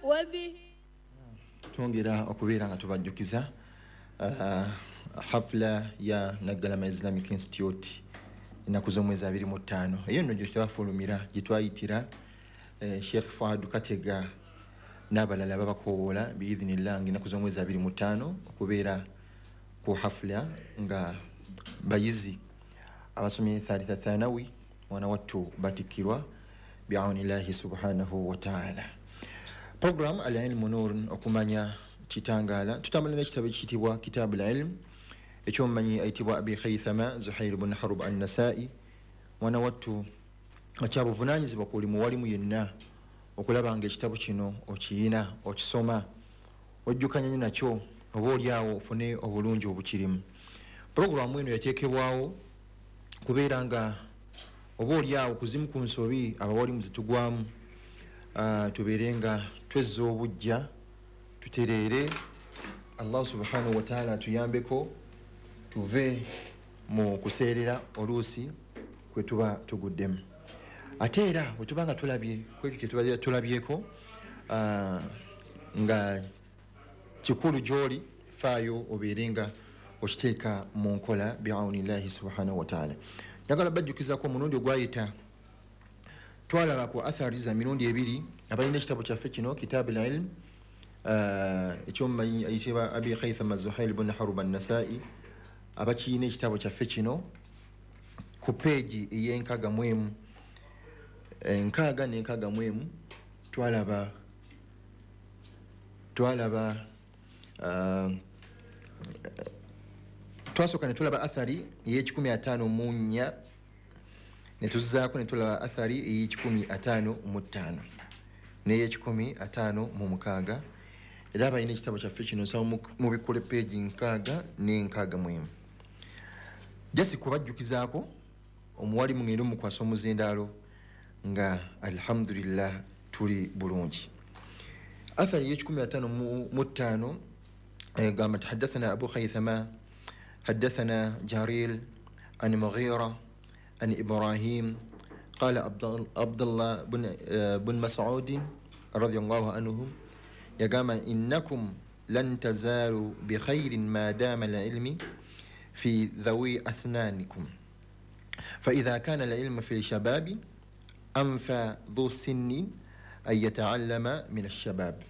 وبه Twongera okubeera nga tubajjukiza hafula ya Naggalama Islamic Institute ennaku z'omwezi 25. Eyo nno gyetwafulumira, gyetwayitira Sheikh Fuad Katega n'abalala babakowoola biidhinillah nga ennaku z'omwezi 25 okubeera ku hafula nga bayizi abasomye thalitha thanawi mwana wattu batikkirwa biaunillahi subhanahu wataala. Program Al-Ilmu Nur, okumanya kitangaala. Tutambula n'ekitabo ekiyitibwa Kitabu Lilm ekyomumanyi ayitibwa Abi Khaithama Zuhair bun Harub Annasai. Mwana wattu, akyabuvunanyizibwa ku buli muwalimu yenna okulaba nga ekitabo kino okiyina, okisoma, ojjukanya nakyo, oba oliawo ofune obulungi obukirimu. Puroguramu eno yateekebwawo kubeera nga oba oliawo kuzimu ku nsobi abawalimu zitugwamu, tubeere nga twezza obujja, tutereere. Allah subhanahu wataala atuyambeko tuve mu kuseerera oluusi kwe tuba tuguddemu. Ate era bwe tuba nga tulabye kwekyo kyetuba tulabyeko nga kikulu gyoli, faayo obeere nga okiteeka mu nkola biaunillahi subhanahu wataala. Njagala bajjukizako omulundi ogwayita twalaba ku athari za mirundi ebiri. Abalina ekitabo kyaffe kino Kitabu Lilm ekyomumanyi ayitibwa Abi Khaithama Zuhail bun Harub Annasai, abakiyina ekitabo kyaffe kino ku peegi ey'enkaaga mu emu, 61, twalaba twasooka ne tulaba athari ey'e154, ne tuzzaako ne tulaba athari ey'e155 n'ey'e156. Era abalina ekitabo kyaffe kino nsaba mubikkule peegi 61. Jasi kubajjukizaako omuwali mugende mukwasa omuzindaalo nga alhamdulillah tuli bulungi. Athari ey'e155 gamba nti hadathana Abu Khaithama hadathana Jaril an Mughira an Ibrahim qala Abdullah bun Masudin radiallahu anhum yagamba innakum lan tazalu bikhairin ma dama alilmi fi dhawi athnanikum فإذا كان العلم في الشباب أنفى ذو سن أن يتعلم من الشباب.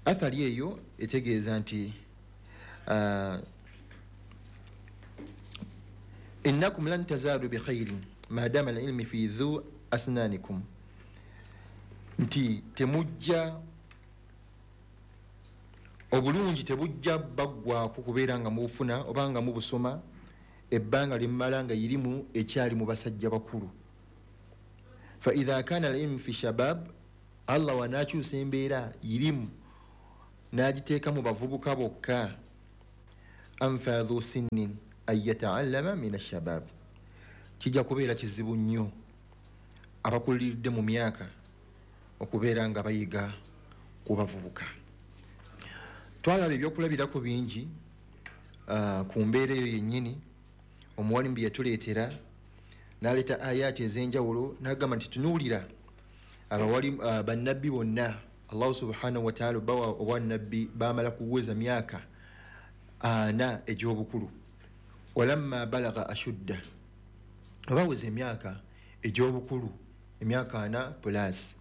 Athari eyo etegeeza nti innakum lan tazalu bikhairin madama alilmi fi dhu asnanikum, nti temujja obulungi tebujja baggwako kubeera nga mubufuna oba nga mubusoma ebbanga limmala nga irimu ekyali mu basajja bakulu. Fa idha kana alilmu fi shabab, Allah wanakyusa embeera irimu n'agiteeka mu bavubuka bokka, anfa dhu sinnin an yataallama min ashabab, kijja kubeera kizibu nnyo abakuliridde mu myaka okubeera nga bayiga ku bavubuka. Twalaba ebyokulabirako bingi ku mbeera eyo yennyini. Omuwalimu bye yatuleetera n'aleeta ayaati ez'enjawulo n'agamba nti tunuulira abawali bannabbi bonna Allahu subhanahu wataala bawa obwannabbi bamala kuweza myaka 40 egy'obukulu. Walamma balaga ashudda, obaweza emyaka egy'obukulu, emyaka 40 plus,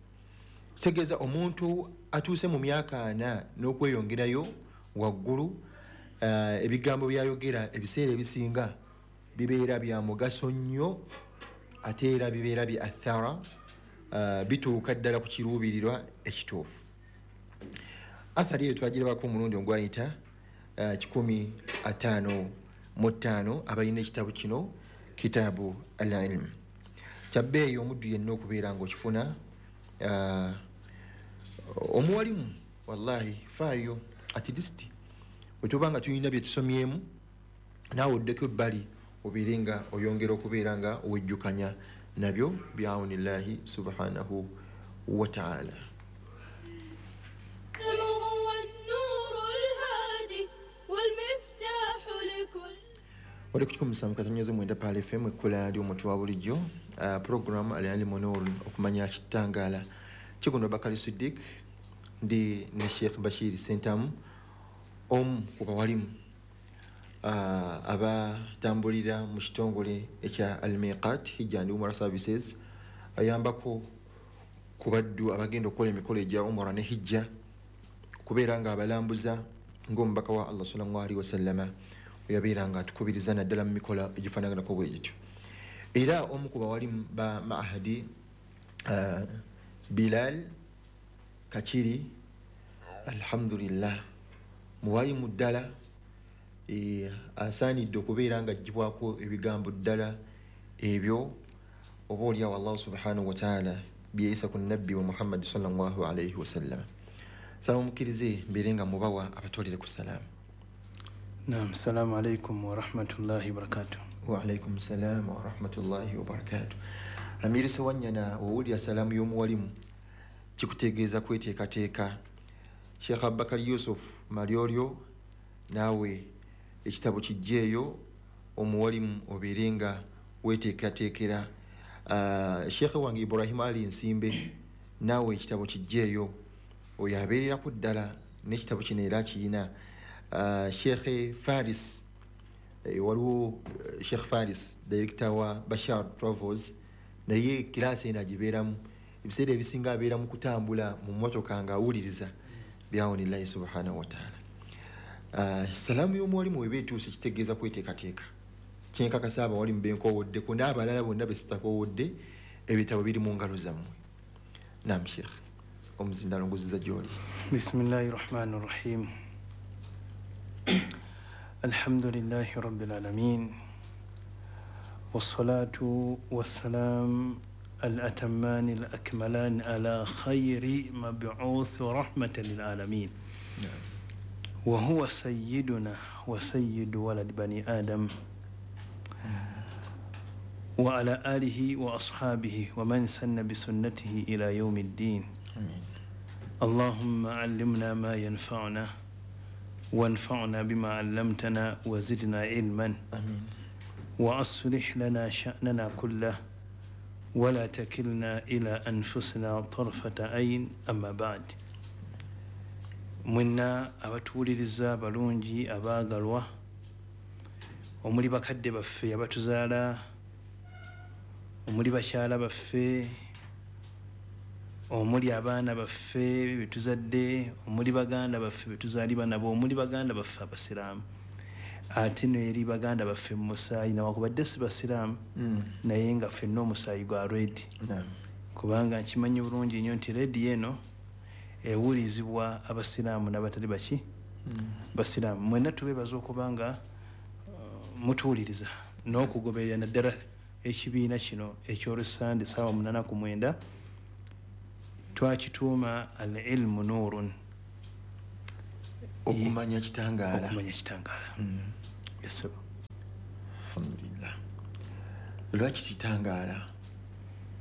kitegeeza omuntu atuuse mu myaka 40 n'okweyongerayo waggulu, ebigambo byayogera ebiseera ebisinga bibeera bya mugaso nnyo, ate era bibeera bya athara, bituuka ddala ku kiruubirirwa ekituufu. Athari eyo twagirabako omulundi ogwayita 155, abalina ekitabo kino Kitabu Al Ilm. Kyabbeeyi omuddu yenna okubeera ngaokifuna. Omuwalimu wallahi faayo at least bwe tuba nga tulina bye tusomyemu naawe oddeko ebbali obeere nga oyongera okubeera nga owejjukanya nabyo biaunillahi subhanahu wataala. هو النور الهادي والمفتاح لكل Oli ku 107.9 Pal FM, ekkula ly'omuntu wa bulijjo, program Al-Ilmu Nur, okumanya kitangaala. Kigundwa Bakali Sidik. Ndi ne Sheikh Bashir Sentamu, omu ku bawalimu abatambulira mu kitongole ekya Al-Miqat Hijja and Umrah Services, ayambako ku baddu abagenda okukola emikolo egya umura ne hijja, okubeera nga abalambuza ng'omubaka wa Allah sallallahu alaihi wasallama yabeera nga atukubiriza naddala mu mikolo egifaanaganako bwe gityo. Era omu ku bawalimu ba Mahadi Bilal Kakiri, alhamdulillah, muwalimu ddala, asaanidde okubeera nga aggyibwako ebigambo ddala ebyo oba oliawo Allah subhanahu wataala byeyisa ku nabbi wa Muhammadi sallallahu alaihi wasallam. Saba mukkirize mbeere nga mubawa abatwalire ku salaamu. Naam, salamu alaikum warahmatullahi wabarakatuh. Waalaikum salaam warahmatullahi wabarakatuh. Amiri Sewanyana, wowulira salaamu y'omuwalimu kikutegeeza kweteekateeka. Sheikh Abubakar Yusuf Malyolyo, naawe ekitabo kijjeeyo omuwalimu obeere nga weteekateekera. Sheikh wange Ibrahim Ali Nsimbe, naawe ekitabo kijjeeyo, oyo abeereraku ddala n'ekitabo kino era akiyina. Sheikh Faris, waliwo Sheikh Faris director wa Bashar Travels, naye kiraasi eno agibeeramu ebiseera ebisinga, abeera mu kutambula mu mmotoka ng'awuliriza byawonillahi subhanahu wataala. Salaamu y'omuwalimu weba etuuse kitegeeza kweteekateeka. Kyenkakasa abawalimu benkoowoddeko n'abalala bonna besitakoowodde, ebitabo biri mu ngalo zammwe. Nam Sheikh, omuzindalo nguziza gy'oli. Bismillahi rahmani rahim. Alhamdulillahi rabbil alamin, wassalatu wassalam الأتمان الأكملان على خير مبعوث رحمة للعالمين. نعم. وهو سيدنا وسيد ولد بني آدم، وعلى آله وأصحابه ومن سن بسنته إلى يوم الدين. آمين. اللهم علمنا ما ينفعنا، وانفعنا بما علمتنا، وزدنا علما. آمين. وأصلح لنا شأننا كله، ولا تكلنا إلى أنفسنا طرفة عين. أما بعد، mwenna abatuwuliriza balungi abaagalwa, omuli bakadde baffe abatuzaala, omuli bakyala baffe, omuli abaana baffe betuzadde, omuli baganda baffe betuzaalibwa nabo, omuli baganda baffe abasiraamu, ate n'eri baganda baffe mu musaayi, nawakubadde si basiraamu, naye nga ffenna omusaayi gwa redi. Naam. Kubanga nkimanyi bulungi nnyo nti rediyo eno ewulizibwa abasiraamu n'abatali baki basiraamu. Mwenna tubeebaza okuba nga mutuwuliriza n'okugoberera naddala ekibiina kino eky'olusande ssaawa 8 ku 9, twakituuma Al Ilmu Nuurun. Okumanya kitangaala. Okumanya kitangaala. Yes, sir. Alhamdulillah. Lwaki kitangaala?